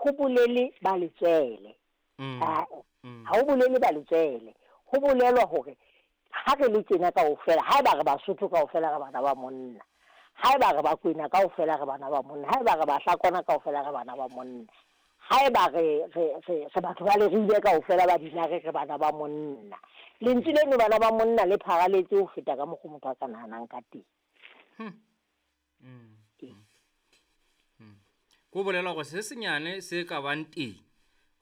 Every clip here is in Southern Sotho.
ho bolele ba letswele. Ae, ha ho bolele ba letswele. Ho bolelwa hore ha re le tjena kaofela, haeba re Basotho kaofela re bana ba monna. Haeba re Bakwena kaofela re bana ba monna. Haeba re Bahlakwana kaofela re bana ba monna. Haeba re, re, re, re batho ba Leribe kaofela ba Dinare re bana ba monna. Lentswe leno bana ba monna le pharaletse ho feta ka mokgwa motho a ka nahanang ka teng. Ko bolela gore se senyane se ka bang teng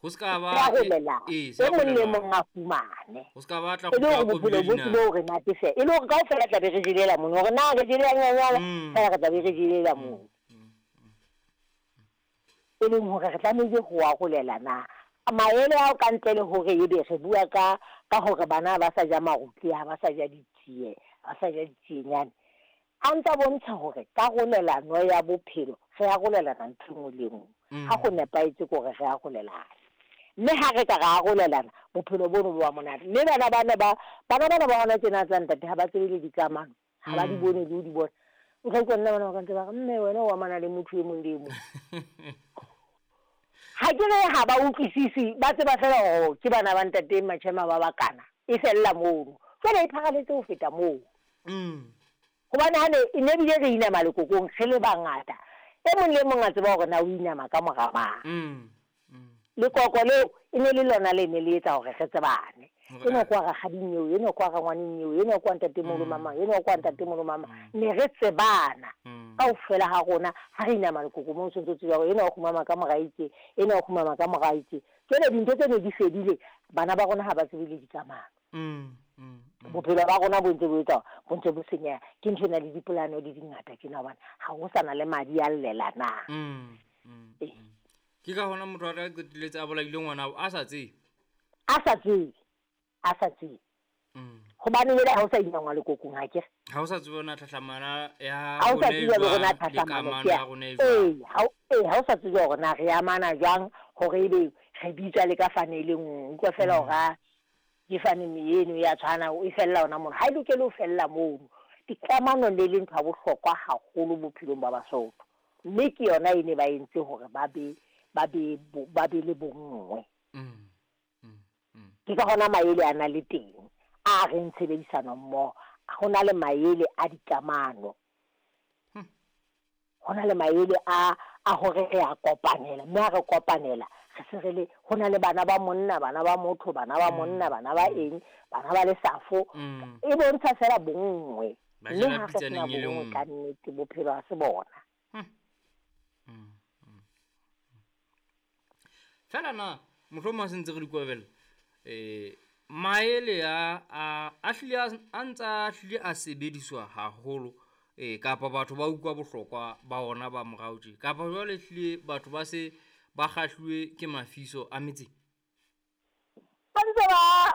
go se ka ba Se a romelana. Ee, se E a mong le romelana. mong a fumane. Go se ka ba tla E le go hore bophelo bo tlile hore natefela. E le hore kaofela tla be re jelela mono. Hore na re jelela nyanyana, fela re tla be re jelela mono. E leng hore re tlamehile ho arolelana maele ao ka ntle le hore ebe re bua ka ka hore bana ba sa ja marutle, ha ba sa ja ditsie, ha ba sa ja ditsienyane. A ntsa bontsha hore karolelano ya bophelo re arolelana ntho e nngwe le e nngwe. Ha go nepahetse ke hore re arolelane. Mme ha re ka ra arolelana, bophelo bono bo ba monate. Mme bana bana ba bana bana ba hona tjena tsa ntate ha ba tsebe le dikamano, ha ba di bone le ho di bona. O tla utlwa nna bana ba ka ntse ba re, mme wena o amana le motho e mong le e mong. Ha ke re ha ba utlwisise, ba tseba fela hore ke bana ba ntate Machema ba bakana. E fella mono. Jwale e pharaletse ho feta moo. Hobane ha ne e ne bile re inama lekokong re le bangata, e mong le mong a tseba hore na o inama ka mora mang. Lekoko leo e ne le lona le ne le etsa hore re tsebane. Enwa ke wa rakgading eo, enwa ke wa rangwaneng eo, enwa ke wa ntatemoholo mamang, enwa ke wa ntatemoholo mamang. Ne re tsebana kaofela ha rona ha re inama lekoko moo, o ntso tseba hore enwa o kgumama ka mora itseng, enwa o kgumama ka mora itseng. Jwale dintho tse ne di fedile, bana ba rona ha ba tsebe le dikamano. Bophelo ba rona bo ntse bo etsa bo ntse bo senyeha. Ke ntho ena le dipolano di dingata tjena hobane ha ho sa na le madi a llelanang. Ee. Ke ka hona motho a tla qetelletse a bolaile ngwana a sa tsebe. A sa tsebe. A sa tsebe. Hobane jwale ha o sa inangwa lekokong ha ke re. Ha o sa tsebe ona tlhahlamana ya Ha o sa rona e tsebe hore na jwang, le tlhahlamano kamano ke ya ya rona e jwang. Ee, ha o sa tsebe hore na re amana jwang hore ebe re bitswa le ka fane e le nngwe. Utlwa fela hore a ke fane eno ya tshwana, e fella hona mono. Ha e lokele ho fella mono. Dikamano le le ntho ya bohlokwa haholo bophelong ba Basotho. Mme ke yona e ne ba entse hore ba be ba be ba be le bonngwe. Ke ka hona maele a na le teng a reng tshebedisano mmoho. Ho na le maele a dikamano. Ho na le maele a hore re a kopanela, mme ha re kopanela re se re le ho na le bana ba monna, bana ba motho, bana ba monna, bana ba eng, bana ba lesafo. E bontsha fela bonngwe. Ba Mme jela ha re sena pitsaneng e le bonngwe nngwe. ka nnete bophelo ha se bona. Fela na mohlomong ha se ntse re di kwabela, maele a hlile a ntsa hlile a sebediswa haholo, kapa batho ba utlwa bohlokwa ba ona ba morao tje, kapa jwale hlile batho ba se ba kgahluwe ke mafiso a metseng? Ba ntse ba,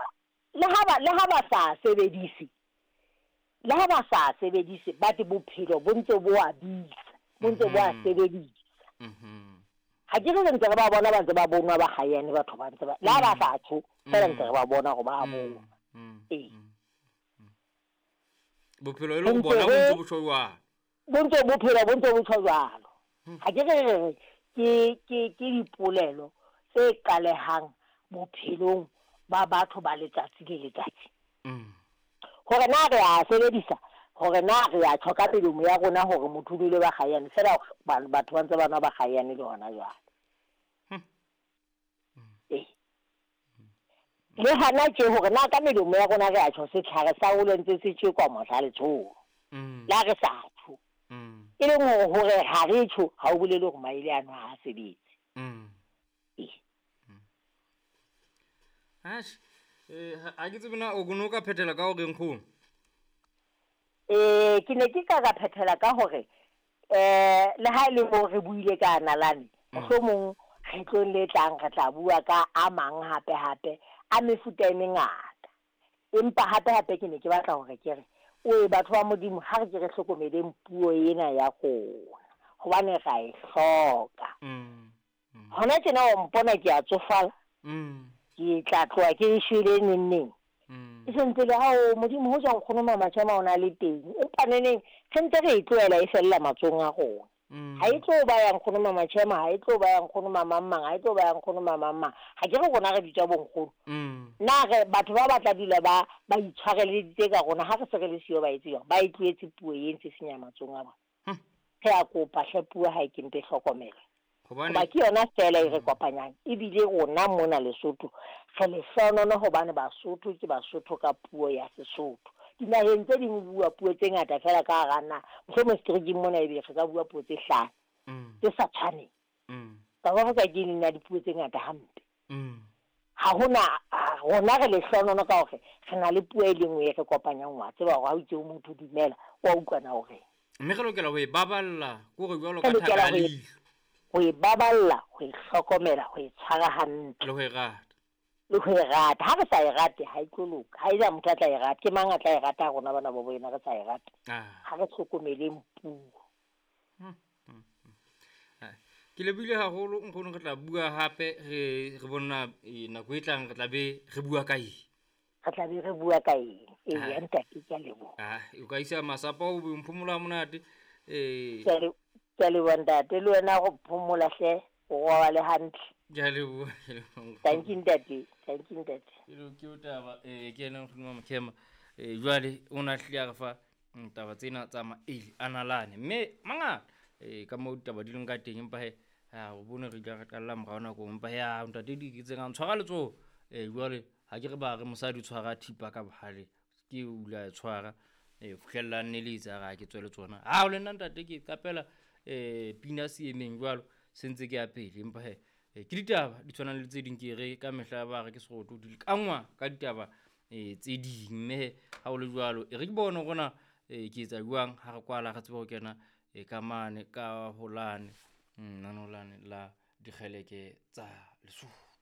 le ha ba, le ha ba sa sebedise, le ha ba sa sebedise, but bophelo bo ntse bo a bitsa, bo ntse bo a sebedisa. Ha ke re ntse re ba bona ba ntse ba bonwa ba kgayane batho ba ntse ba, le ha ba sa tjho, fela ntse re ba bona hore ba bonwa. Ee. Bophelo e le ho bona bo ntse bo tjho jwalo. Bo ntse bophelo bo ntse bo tjho jwalo. Ha ke re re ke dipolelo tse qalehang bophelong ba batho ba letsatsi le letsatsi. Hore na re a sebedisa, hore na re a tjho ka melomo ya rona hore motho o nwele ba kgayane, fela batho ba ntse ba nwa ba kgayane le hona jwale. Ee. Le hana tje hore na ka melomo ya rona re a tjho setlhare sa ole ntse se tjekwa mohla letsholo. La re sa tjho. E leng hore ha re tjho, ha o bolele hore maele ano ha a sebetse. Ee. Atjhe, ha ke tsebe na o no ka phethela ka hore nkgono? Ke ne ke ka ka phethela ka hore, le ha e le moo re buile ka nalane, mohlomong kgetlong le tlang re tla bua ka a mang hape hape a mefuta e mengata. Empa hape hape ke ne ke batla hore ke re, oe batho ba Modimo, ha re ke re hlokomeleng puo ena ya rona, hobane ra e hloka. Hona tjena o mpona ke a tsofala. Ke tla tloha ke shwele neng neng. E sentse le ha o Modimo ho jwang nkgono Mama Chema o na le teng. Empa neneng re ntse re e tlohela e fella matsohong a rona. Ha e tlo ba ya nkgono Mama Chema, ha e tlo ba ya nkgono mamang mang, ha e tlo ba ya nkgono mamang mang. Ha ke re rona re bitswa bonkgono. Na re batho ba batla dula ba ba itshwareleditse ka rona ha re se re le siyo, ba etse jwang? Ba e tlohetse puo e ntse senya matsohong a bona. Re a kopa hle, puo ha e ke mpe hlokomelwe. Hobane Hoba ke yona fela e re kopanyang, ebile rona mona Lesotho re lehlohonono hobane Basotho ke Basotho ka puo ya Sesotho. Dinaheng tse ding ho bua puo tse ngata fela ka hara naha, mohlomong seterekeng mona ebe re ka bua puo tse hlano tse sa tshwaneng. South Africa ke e leng ya dipuo tse ngata hampe. Ha hona, rona re lehlohonono ka hore re na le puo e le nngwe e re kopanyang. Wa tseba hore ha o itse ho motho dumela, wa utlwana hore Mme re lokela ho e baballa kore jwalo Re ka thaka lokela ya ho e leihlo. Ho e baballa, ho e hlokomela, ho e tshwara hantle. Le ho e rata. Le ho e rata. Ha re sa e rate, ha e tlo loka. Ha ena motho a tla e rata. Ke mang a tla e rata ha rona bana ba bo ena re sa e rate? Ha re hlokomeleng puo. Ke lebohile haholo nkgono, re tla bua hape re re bona nako e tlang re tla be re bua ka eng. Re tla be re bua ka eng? Eya ntate, ke a leboha. O ka isa masapo o be mphomolo ha monate. Ke a leboha ntate, le wena go phomola hle, o robale hantle. Ke a leboha, ke a leboha. Thank you ntate, thank you ntate. Ke o taba ke ena nkgono Mama Chema. Jwale o na hlile a re fa taba tsena tsa maele a nalane, mme mangata ka moo ditaba di leng ka teng, empa he ha o bone re ile re qalla morao nakong, empa he a ntate di ke tsena ntshwara letsoho. Jwale ha ke re ba re mosadi o tshwara thipa ka bohale, ke o ile a e tshwara fihlella nne le etsa ra ke tswe le tsona. Ha o le nna ntate ke qapela pina seemeng jwalo se ntse ke ya pele, empa he ke ditaba di tshwanang le tse ding, ke re ka mehla ba re ke seroto di lekangwa ka ditaba tse ding, mme he ha o le jwalo e re ke bone hore na ke etsa jwang ha re kwala re tsebe ho kena ka mane ka holane, nanolane la dikgeleke tsa Lesotho.